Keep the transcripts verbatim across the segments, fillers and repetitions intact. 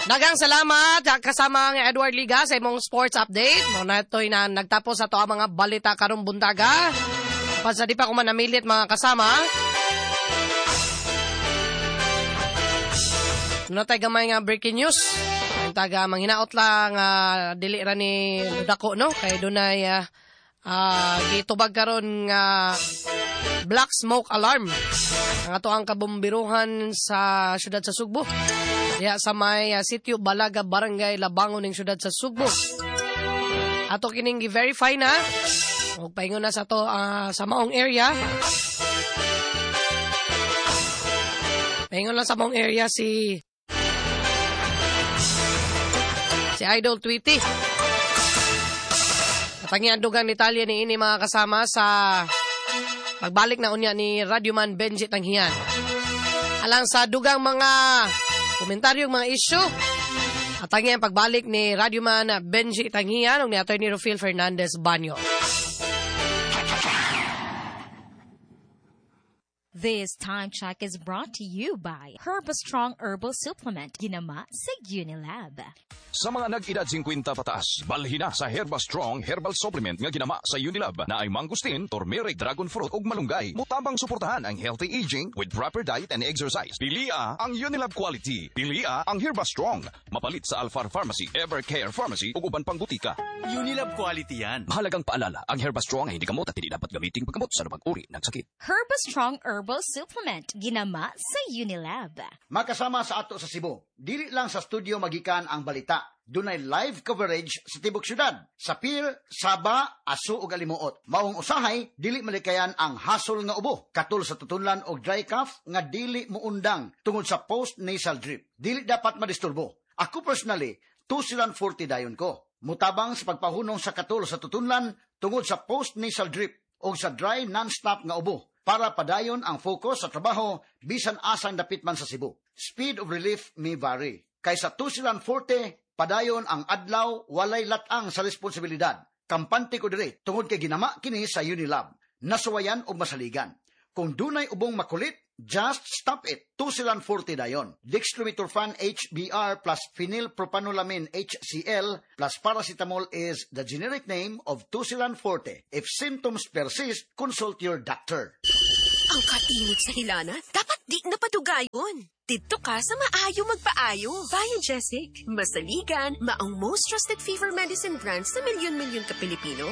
Daghang salamat kasama ang Edward Liga sa imong sports update. Mao na ito'y na nagtapos sa ato ang mga balita karong buntaga. Pa sa di pa ko manamilit mga kasama. Ano tayo gamay nga breaking news? Ang taga manghinaot lang uh, dili ra ni dako no kay dunay uh, uh, gitubag karon nga black smoke alarm ang ato ang kabombiruhan sa syudad sa Sugbo. Diya sa may uh, sitio Balaga, Barangay Labangon ning syudad sa Sugbo. Ato kining gi-verify na ug paingon na sa to uh, sa maong area. Paingon lang sa maong area si si Idol Tweety. Katangian dugang detalye ni ini mga kasama sa pagbalik na unya ni Radyoman Benji Tanghian. Alang sa dugang mga komentaryo, mga issue, atangi ang pagbalik ni Radyoman Benji Tanghian ug ni Attorney Rufil Fernandez Banyo. This time check is brought to you by Herbastrong Herbal Supplement, ginama sa Unilab. Sa mga nag-edad singkwenta pataas, balhin na sa Herbastrong Herbal Supplement nga ginama sa Unilab na ay mangustin, turmeric, dragon fruit ug malunggay. Mutabang suportahan ang healthy aging with proper diet and exercise. Pilia ang Unilab quality. Pilia ang Herbastrong. Mapalit sa Alfar Pharmacy, Evercare Pharmacy ug uban pang butika. Unilab quality yan. Mahalagang paalala, ang Herbastrong ay hindi gamot at hindi dapat gamiting paggamot sa anumang uri ng sakit. Herbastrong Herbal Supplement, ginama sa Unilab. Makasama sa ato sa Cebu, dili lang sa studio magikan ang balita. Dunay live coverage sa tibok syudad, sa Pier, Saba, Aso ug Alimuot. Maong usahay, dili malikayan ang hasol nga ubo, katul sa tutunlan og dry cough nga dili muundang tungod sa post-nasal drip. Dili dapat madisturbo. Ako personally, Tusilan forty dayon ko. Mutabang sa pagpahunong sa katul sa tutunlan tungod sa post-nasal drip o sa dry non-stop nga ubo para padayon ang focus sa trabaho bisan asang dapit man sa Cebu. Speed of relief may vary. Kaysa Tusilan forty, padayon ang adlaw walay latang sa responsibilidad. Kampante ko diri tungod kay ginama kini sa Unilab. Nasuwayan og masaligan. Kung dunay ubong makulit, just stop it. Tusilan forty dayon. Dextromethorphan H B R plus phenylpropanolamine H C L plus paracetamol is the generic name of Tusilan forty. If symptoms persist, consult your doctor. Ang kainit sa hilana, dapat di na padugayon. Dito ka sa maayo magpaayo. Biogesic, masaligan, maong most trusted fever medicine brand sa milyon-milyon ka Pilipino.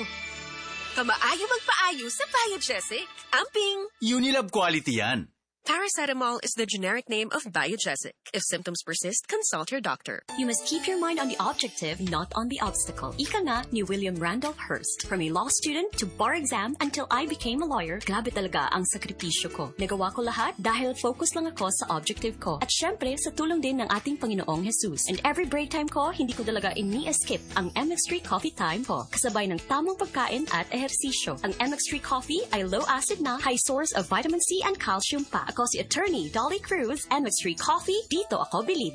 Kamaayo magpaayo sa Biogesic. Amping! Unilab quality yan. Paracetamol is the generic name of Biogesic. If symptoms persist, consult your doctor. You must keep your mind on the objective, not on the obstacle. Ika nga ni William Randolph Hearst. From a law student to bar exam until I became a lawyer, grabe talaga ang sakripisyo ko. Nagawa ko lahat dahil focus lang ako sa objective ko. At syempre, sa tulong din ng ating Panginoong Jesus. And every break time ko, hindi ko talaga ini-skip ang M X three coffee time ko. Kasabay ng tamang pagkain at ehersisyo. Ang M X three coffee ay low acid na, high source of vitamin C and calcium pa. Ako si Attorney Dolly Cruz, M X three Coffee, dito ako bilib.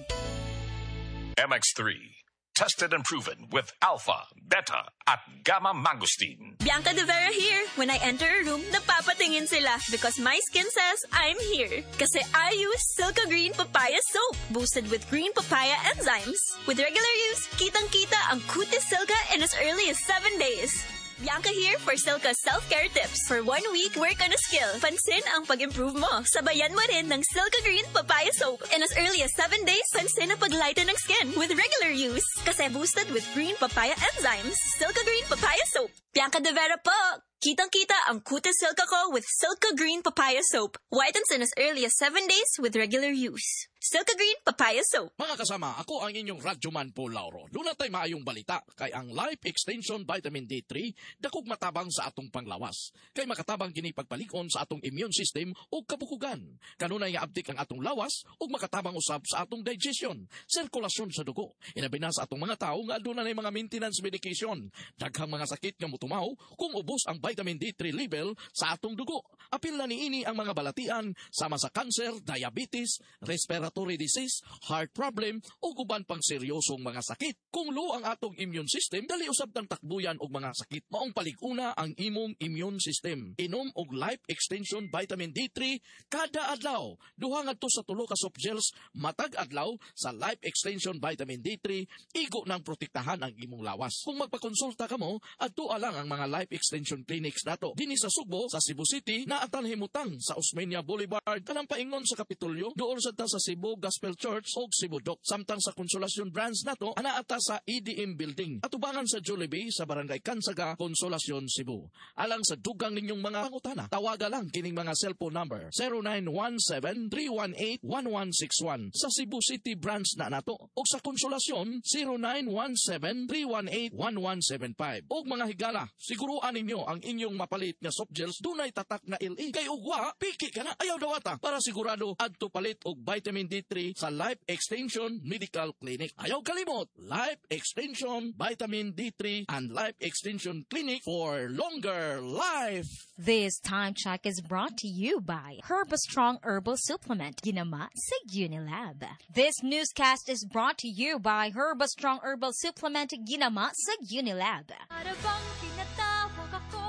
M X three, tested and proven with alpha, beta, at gamma mangosteen. Bianca De Vera here. When I enter a room, napapatingin sila because my skin says I'm here. Kasi I use Silka Green Papaya Soap, boosted with green papaya enzymes. With regular use, kitang-kita ang kutis Silka in as early as seven days. Bianca here for Silka self-care tips. For one week, work on a skill. Pansin ang pag-improve mo. Sabayan mo rin ng Silka Green Papaya Soap. In as early as seven days, pansin ang pag-lighten ng skin with regular use. Kasi boosted with green papaya enzymes. Silka Green Papaya Soap. Bianca De Vera po! Kitang-kita ang kutis Silka ko with Silka Green Papaya Soap. Whitens in as early as seven days with regular use. Silka Green Papaya Soap. Mga kasama, ako ang inyong Radyoman Paul Lauro. Doon natay maayong balita kay ang Life Extension Vitamin D three dakog matabang sa atong panglawas. Kay makatabang kini pagpalikon sa atong immune system ug kabukugan. Kanunay nga abdik ang atong lawas ug makatabang usab sa atong digestion, sirkulasyon sa dugo. Inabi na sa atong mga tawo nga aduna nay mga maintenance medication. Daghang mga sakit nga motumaw kung ubos ang vitamin vitamin D three level sa atong dugo. Apil na niini ang mga balatian sama sa cancer, diabetes, respiratory disease, heart problem ug uban pang seryosong mga sakit. Kung low ang atong immune system, dali usab tang takbuyan og mga sakit. Maong palig-una ang imong immune system. Inom og Life Extension Vitamin D three kada adlaw. Duha ngadto sa tulo ka soft gels matag adlaw sa Life Extension Vitamin D three, igo nang protektahan ang imong lawas. Kung magpakonsulta kamo, adto lang ang mga Life Extension clinics nato. Dinhi sa Sugbo, sa Cebu City, naa tan himutang sa Osmeña Boulevard, kanang paingon sa Kapitolyo, duol sa ta sa Cebu Gospel Church og Cebu Doc. Samtang sa Consolacion branch nato, anaa ta sa E D M Building. Atubangan sa Jollibee sa Barangay Cansaga, Consolacion, Cebu. Alang sa dugang ninyong mga pangutana, tawaga lang kining mga cellphone number zero nine one seven, three one eight, one one six one sa Cebu City branch na nato. Og sa Consolacion, zero nine one seven, three one eight, one one seven five. Og mga higala, siguruan ninyo ang inyong mapalit nga soft gels dunay tatak na L E. Kay ugwa, piki ka na, ayaw dawata. Para sigurado, adto palit og vitamin D three sa Life Extension Medical Clinic. Ayaw kalimot, Life Extension Vitamin D three and Life Extension Clinic for longer life. This time check is brought to you by Herbastrong Herbal Supplement, Ginama sa Unilab. This newscast is brought to you by Herbastrong Herbal Supplement, Ginama sa Unilab. Para bang tinatawag ako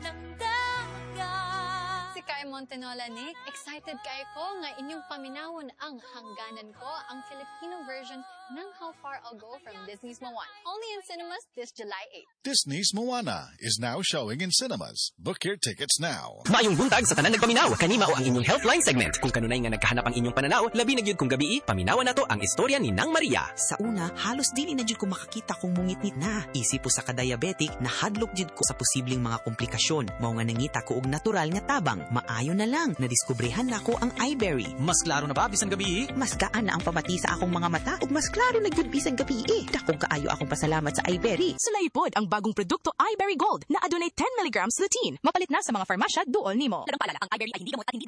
ng dagat. Si Kai Montenola ni, excited kay ko nga inyong paminawon ang Hangganan Ko, ang Filipino version ng How Far I'll Go from Disney's Moana. Only in cinemas this July eight. Disney's Moana is now showing in cinemas. Book your tickets now. Maayong buntag sa tanan nagpaminaw. Kani mao ang inyong Healthline segment. Kung kanunay nga nagkahanap ang inyong pananaw, labi na gyud kung gabii, paminawan nato ang istorya ni Nang Maria. Sa una, halos dili na jud ko makakita kung mungitngit na. Isip usa ka diabetic, nahadlok jud ko sa posibleng mga komplikasyon. Mao nga nangita ko og natural nga tabang. Maayo na lang, nadiskubrehan nako ang iBerry. Mas klaro na ba bisan gabii? Mas gaan na ang pamati sa akong mga mata ug mas klaro na gyud bisan gabii. Dakong kaayo akong pasalamat sa iBerry. Sulay pod ang bagong produkto iBerry Gold na adunay ten milligrams lutein. Mapalit na sa mga farmasya duol nimo. Paalala, ang iBerry ay hindi gamot at hindi